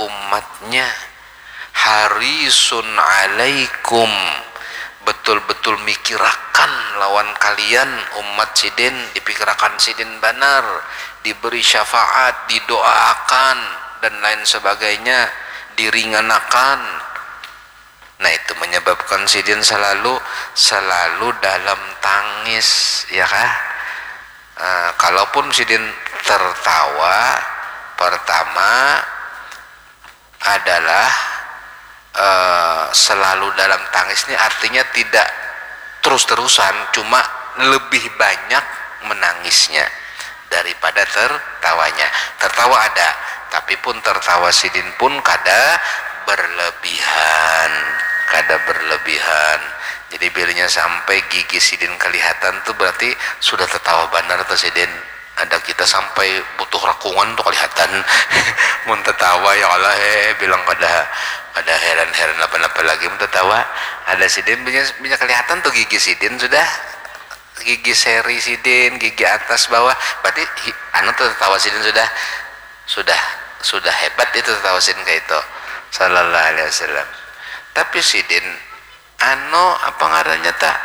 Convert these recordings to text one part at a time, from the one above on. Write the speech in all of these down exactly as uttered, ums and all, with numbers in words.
umatnya, harisun alaikum, betul-betul mikirakan lawan kalian umat sidin, dipikirakan sidin banar, diberi syafaat, didoaakan dan lain sebagainya, diringanakan. Nah, itu menyebabkan sidin selalu selalu dalam tangis, ya kah? Eh, kalaupun sidin tertawa, pertama adalah eh, selalu dalam tangis ini artinya tidak terus-terusan, cuma lebih banyak menangisnya daripada tertawanya. Tertawa ada, tapi pun tertawa sidin pun kada berlebihan, kada berlebihan. Jadi bilanya sampai gigi sidin kelihatan tuh berarti sudah tertawa benar tuh sidin. Ada kita sampai butuh rakungan tuh kelihatan. Mun tertawa, ya Allah, eh, bilang kada kada heran-heran apa-apa lagi mun tertawa. Ada sidin punya punya kelihatan tuh gigi sidin sudah, gigi seri sidin, gigi atas bawah, berarti anu tuh tertawa sidin sudah sudah sudah hebat itu tertawa sidin kayak itu, sallallahu alaihi wasallam. Tapi sidin anu apa ngarannya tak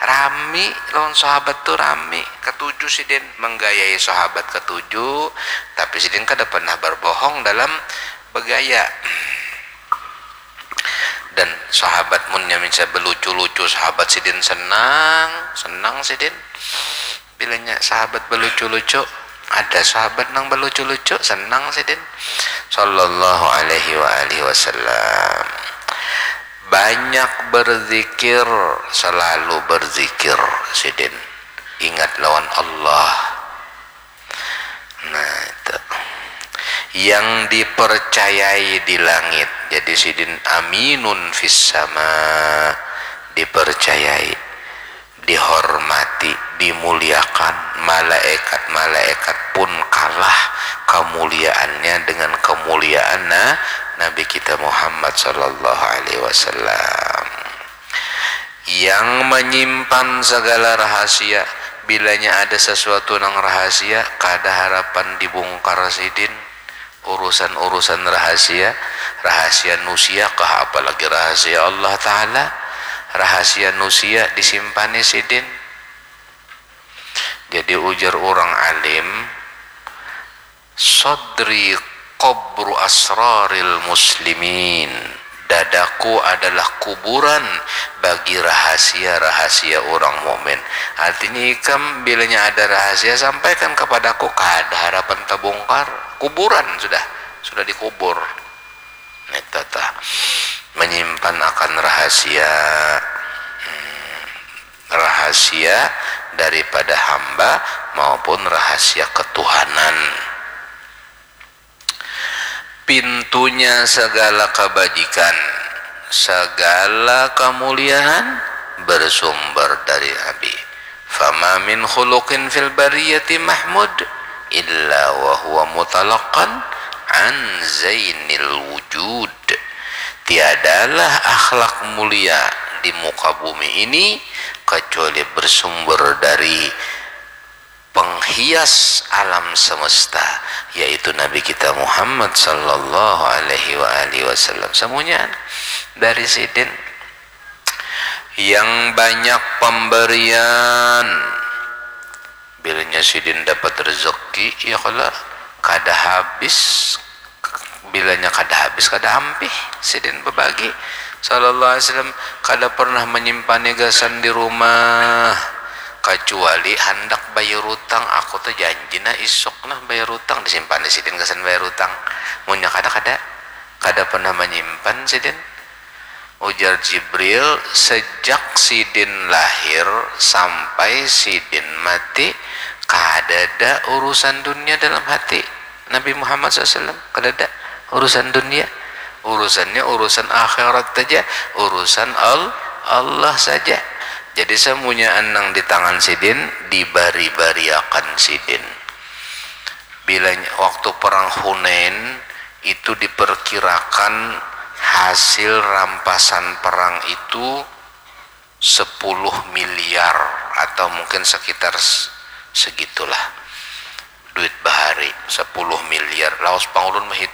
rami lawan sahabat tuh rami, ketujuh sidin menggayai sahabat ketujuh, tapi sidin kada pernah berbohong dalam begaya. Dan sahabat munnya bisa belucu-lucu, sahabat sidin senang, senang sidin. Bilanya sahabat belucu-lucu, ada sahabat nang belucu-lucu, senang sidin. Sallallahu alaihi wa alihi wasallam. Banyak berzikir, selalu berzikir sidin. Ingat lawan Allah. Nah, itu yang dipercayai di langit. Jadi sidin aminun fis sama, dipercayai, dihormati, dimuliakan. Malaikat-malaikat pun kalah kemuliaannya dengan kemuliaan na- Nabi kita Muhammad sallallahu alaihi wasallam. Yang menyimpan segala rahasia. Bilanya ada sesuatu nang rahasia, kada harapan dibungkar sidin. Urusan-urusan rahasia, rahasia nusia kah, apalagi rahasia Allah Ta'ala. Rahasia nusia disimpani sidin. Jadi ujar orang alim, sadri qabru asraril muslimin. Dadaku adalah kuburan bagi rahasia-rahasia orang mukmin. Artinya ikam bilanya ada rahasia sampaikan kepadaku, kada harapan terbongkar. Kuburan sudah, sudah dikubur. Neta tah menyimpan akan rahasia, hmm, rahasia daripada hamba maupun rahasia ketuhanan. Pintunya segala kebajikan, segala kemuliaan bersumber dari Nabi. Fama min khuluqin fil bariyati mahmud illa wa huwa mutalaqan an zainil wujud. Tiadalah akhlak mulia di muka bumi ini kecuali bersumber dari penghias alam semesta, yaitu Nabi kita Muhammad sallallahu alaihi wa alihi wasallam. Semuanya dari sidin yang banyak pemberian. Bilanya sidin dapat rezeki, ya kala kada habis. Bilanya kada habis, kada ampih sidin bebagi. Sallallahu alaihi wasallam kada pernah menyimpan gasan di rumah, kecuali handak bayar utang. Aku tuh janji nah isuk nah bayar utang, disimpan di sidin gasan bayar utang. Munnya kada, kada, kada pernah menyimpan sidin. Ujar Jibril, sejak sidin lahir sampai sidin mati, kadada urusan dunia dalam hati Nabi Muhammad sallallahu alaihi wasallam. Kadada urusan dunia. Urusannya urusan akhirat saja, urusan Al Allah saja. Jadi semuanya nang di tangan sidin dibari-bariakan sidin. Bilanya waktu perang Hunain itu diperkirakan hasil rampasan perang itu sepuluh miliar atau mungkin sekitar segitulah duit bahari, sepuluh miliar. Lawas pangulun menghitung